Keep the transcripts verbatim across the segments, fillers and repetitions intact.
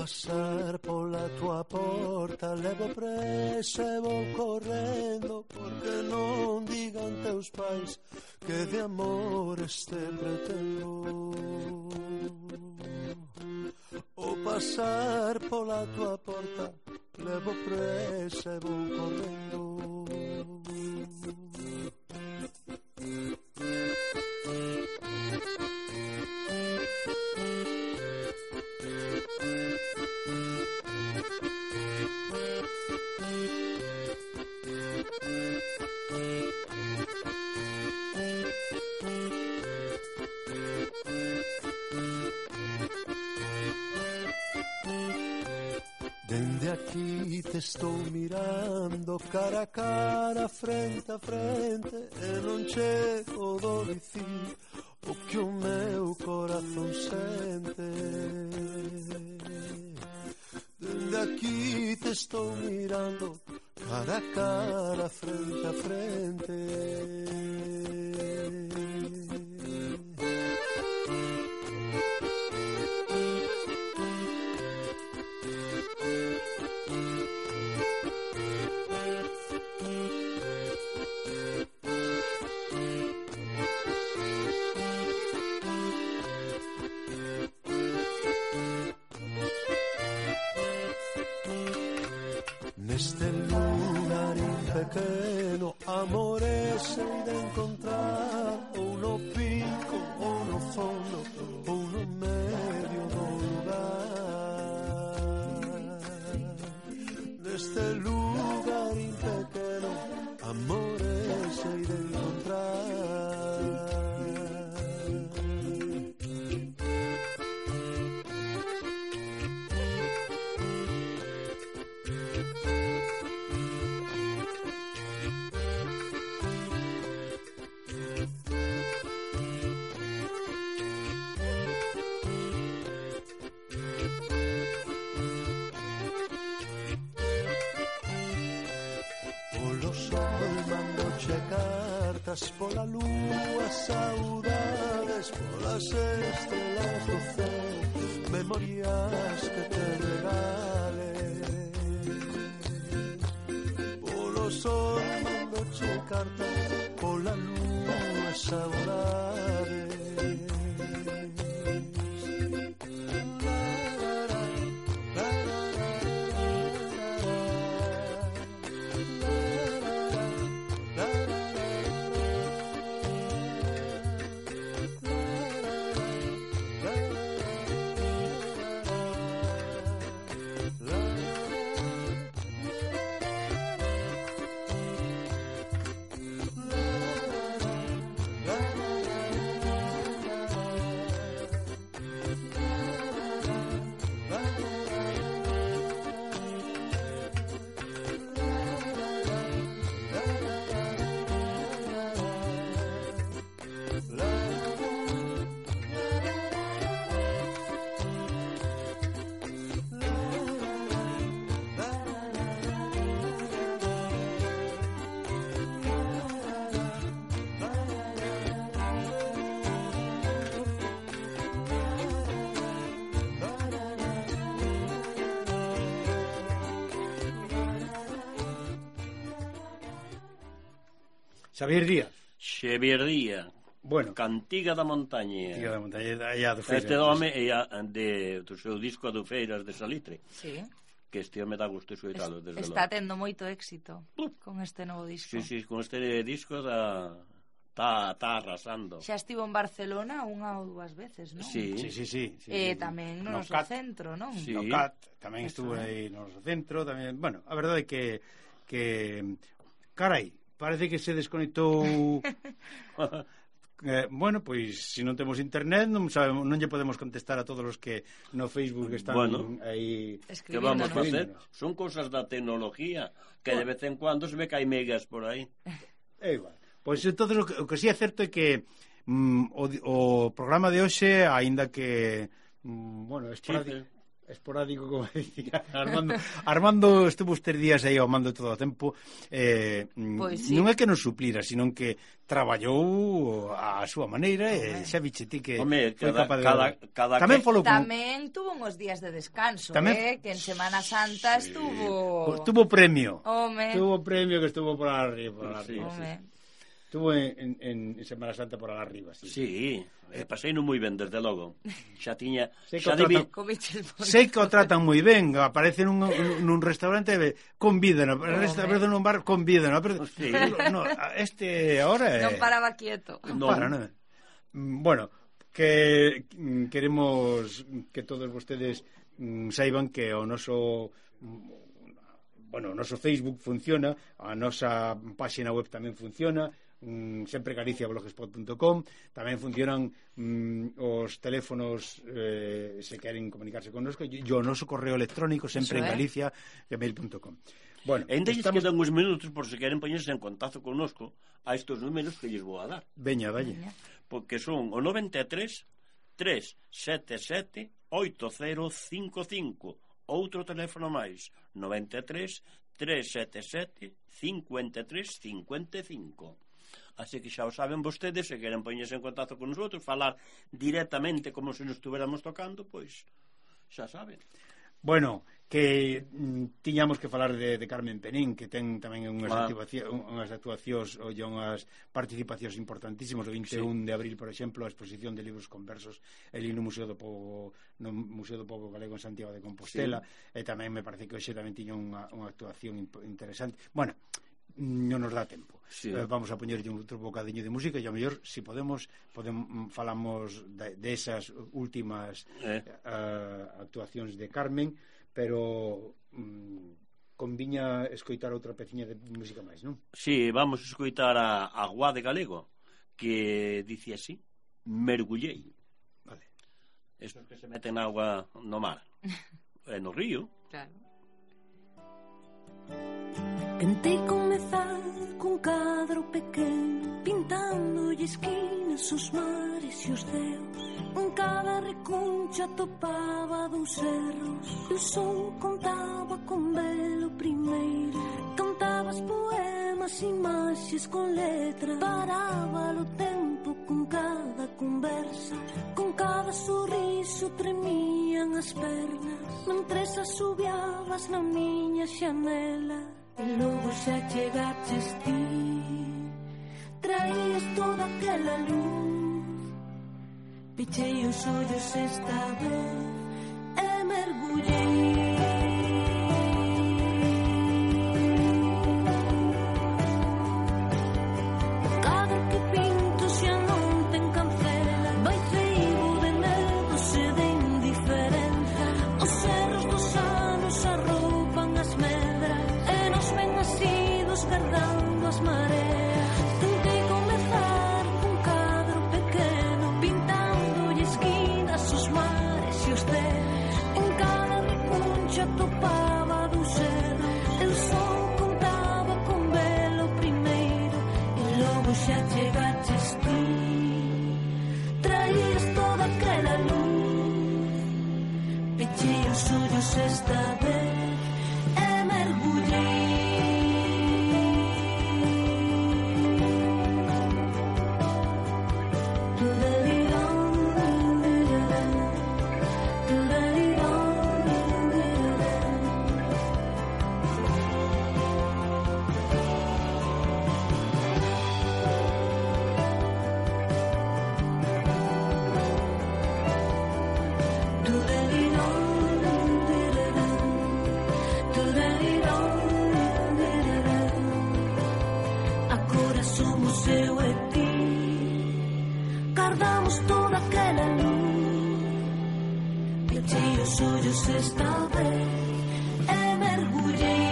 pasar pola tua porta, levo presa e vou correndo, porque non digan teus pais que de amor este pretendo. O pasar pola tua porta, levo presa e vou correndo. Dende aquí te estou mirando, cara a cara, frente a frente, e non chego do dicir o que o meu corazón sente. Dende aquí te estou mirando, cara a cara, frente a frente. Neste lugarín pequeno, amores hei de encontrar, ou no pico, ou no fondo, ou no medio do lugar. Neste lugarín pequeno, amores hei de encontrar. Cartas pola lúa, saudades polas estrelas do céu, memorias que te regale. Polo sol mandoche cartas, pola lúa, saudades. Xavier Díaz. Xavier Díaz. Bueno, Cantiga da Montaña. Cantiga da Montaña, allá do Feiras. Este home é de do seu disco do Feiras de Salitre. Sí. Que este home dá gusto escoitalo desde Está logo. tendo moito éxito con este novo disco. Sí, sí, con este disco da Está tá arrasando. Xa estivo en Barcelona unha ou dúas veces, non? Sí, sí, sí, sí, sí, E sí. tamén no, no noso Cat, centro, non? Sí. No Cat, tamén Eso, estuve eh. aí no noso centro, tamén, bueno, a verdade é que que carai, parece que se desconectou. Eh, bueno, pois se non temos internet non sabemos, non lle podemos contestar a todos os que no Facebook están bueno, aí que vamos a facer, son cousas da tecnología que bueno, de vez en cuando se ve que hai megas por aí. É igual. Pois entonces o que, o que si é certo é que mm, o, o programa de hoxe, aínda que mm, bueno, esporádico, sí, esporádico, como decía Armando. Armando estuvo estes días aí ao mando todo o tempo. Eh, Pois sí. Non é que nos suplira, sino que traballou a súa maneira e xa viche ti que Home, foi cada- capaz de... cada- cada Tamén que- falou con... Tamén tuvo uns días de descanso, Tamén- eh, que en Semana Santa estuvo... Tuvo premio. Home, Tuvo premio que estuvo por arriba. Por Sí, arriba. home. Estuvo en, en, en Semana Santa por arriba, sí. Sí, eh, pasei non moi ben, desde logo. Xa tiña... Sei que Xa o tratan- debi... Comiches por... Sei que o tratan moi ben, aparece nun, nun restaurante e convídano, aparece nun bar, convídano, pero Sí. no, este ahora é... Non paraba quieto. Non Non. para, non. Mm, Bueno, que mm, queremos que todos vostedes mm, saiban que o noso mm, bueno, o noso Facebook funciona, a nosa páxina web tamén funciona, mm, sempre galicia blogspot punto com, tamén funcionan mm, os teléfonos eh, se queren comunicarse con nosco, e o noso correo electrónico sempre Eso en é. galicia gmail punto com. Bueno, E ainda lles estamos... quedan uns minutos por se queren poñerse en contacto connosco a estos números que lles vou a dar. Veña, dalle. Porque son o noventa e tres, tres sete sete, oito cero cinco cinco. Outro teléfono máis, noventa e tres, tres sete sete, cinco tres cinco cinco. Así que xa o saben vostedes, se queren poñerse en contacto con nosotros, falar directamente como se nos estuviéramos tocando, pois xa saben. Bueno, que mm, tiñamos que falar de, de Carmen Penín, que ten tamén unhas, Ah. actuacións, unhas actuacións ou unhas participacións importantísimas. O vinte e un de abril, por exemplo, a exposición de libros conversos ali no Museo do Pobo, no Museo do Pobo Galego en Santiago de Compostela, sí. E tamén me parece que hoxe tamén tiña unha, unha actuación imp- interesante. Bueno, non nos dá tempo. Sí. Eh, vamos a poñerlle un outro bocadiño de música e ao mellor, se si podemos, podemos falamos de, de esas últimas Eh. uh, actuacións de Carmen, pero mm, conviña escoitar outra peciña de música máis, non? Sí, vamos a escoitar a, a Guá de Galego, que dice así: mergullei. Vale. Estos que se meten agua no mar e no río. Claro. Tentei comezar cun cadro pequeno, pintándolle esquinas os mares e os ceos. En cada recuncha topaba dous cerros, e o sol contaba con velo primeiro. Cantabas poemas, imaxes con letra, paraba o tempo con cada conversa. Con cada sorriso tremían as pernas, mentres asubiabas na miña xanela. E logo xa chegaches ti, traías toda aquela luz. Pechei os ollos esta vez e mergullei. Cada que pinto xa non ten cancela, vai feibo de medos e de indiferenza. Os cerros dos anos arroupan as medras e nos ven asidos guardando as mareas. Tentei comezar cun cadro pequeno, pintándolle esquinas os mares e os ceos. En cada recuncha topaba dous cerros, el sol contaba con velo primeiro. E logo xa chegaches ti, traías toda aquela luz. Pechei os ollos esta vez e mergullei. Agora somos eu e ti, guardamos toda aquela luz. Pechei os ollos esta vez e mergullei.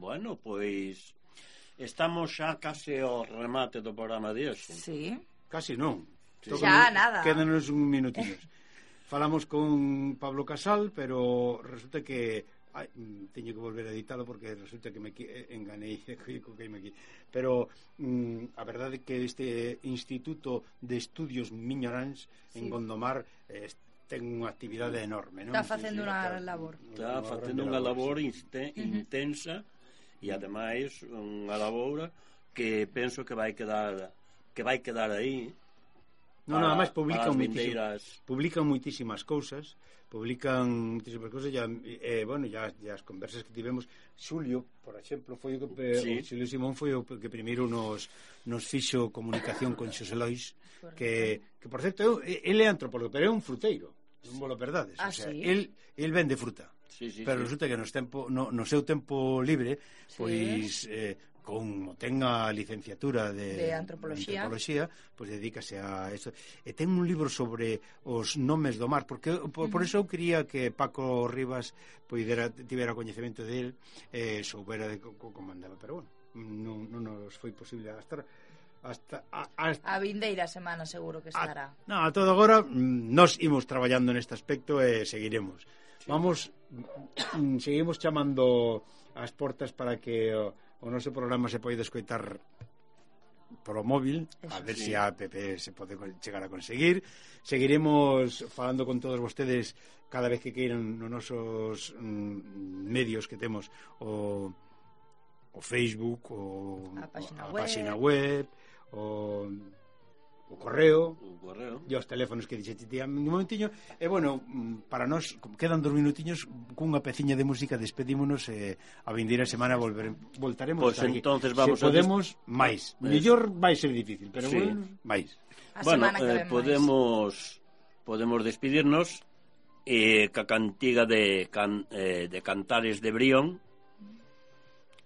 Bueno, pois estamos xa case ao remate do programa de hoxe. Sí. Casi non. Sí. Xa, nada. Quédanos un minutiños. Falamos con Pablo Casal, pero resulta que ai, teño que volver a editalo porque resulta que me enganei co que me aquí. Pero mm, a verdade é que este Instituto de Estudios Miñoráns en Sí. Gondomar eh, ten unha actividade enorme, non? Está facendo Sí, sí, unha está- labor. Está unha facendo grande unha labor sí. inste- intensa e ademais unha labor que penso que vai quedar que vai quedar aí. Non, nada máis publican para as moitísimas, vindeiras. publican moitísimas cousas, publican moitísimas cousas, ya, eh, bueno, ya, ya as conversas que tivemos, Xulio, por exemplo, foi o que Sí. o Xulio Simón foi o que primeiro nos nos fixo comunicación con Xosé Lois, que que por certo, el é antropólogo, pero é un fruteiro, non vos lo perdades, Ah, o sea, sí? el el vende fruta. Sí, sí, Pero sí. resulta que no, tempo, no, no seu tempo libre, Sí. pois eh, con ten a licenciatura de, De antropoloxía. antropoloxía, pois dedícase a eso. E ten un libro sobre os nomes do mar, porque por, por eso eu quería que Paco Rivas poidera tivera coñecemento del, eh, soubera de co, co, como andaba, pero bueno, non, non nos foi posible hasta hasta a, hasta A vindeira semana seguro que estará. A, no, a todo agora mm, nos imos traballando neste aspecto e seguiremos. Sí. Vamos, mm, seguimos chamando ás portas para que o, o noso programa se poida escoitar polo móvil, Eso a ver sí. se a app se pode chegar a conseguir. Seguiremos falando con todos vostedes cada vez que queiran nos nosos mm, medios que temos o, o Facebook, o A páxina a web. páxina web, o o correo O correo. e os teléfonos que dixete ti un momentiño. E bueno, mm, para nós quedan dos minutiños, cunha peciña de música despedímonos e a vindeira semana volver, voltaremos Pois a estar aquí. entonces vamos Se a podemos máis, mellor vai ser difícil, pero Sí. bueno, máis. A Bueno, semana que eh, ven máis. podemos podemos despedirnos eh, ca cantiga de can, eh, de Cantares de Brión,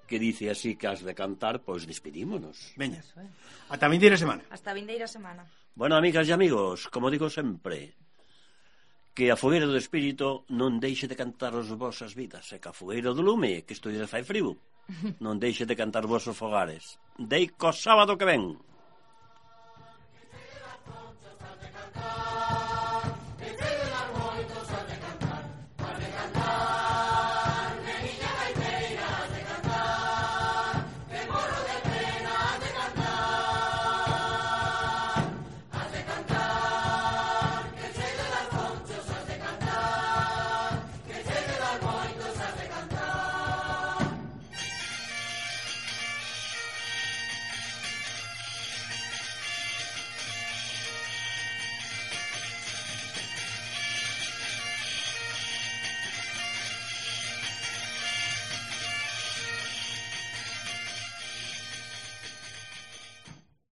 que dice así que has de cantar, pois despedímonos. Veña, Eso é. ata a vindeira semana. Hasta a vindeira semana. Bueno, amigas e amigos, como digo sempre, que a fogueira do espírito non deixe de cantar as vosas vidas, e que a fogueira do lume, que isto lle fai frío, non deixe de cantar os vosos fogares. Dei co sábado que ven.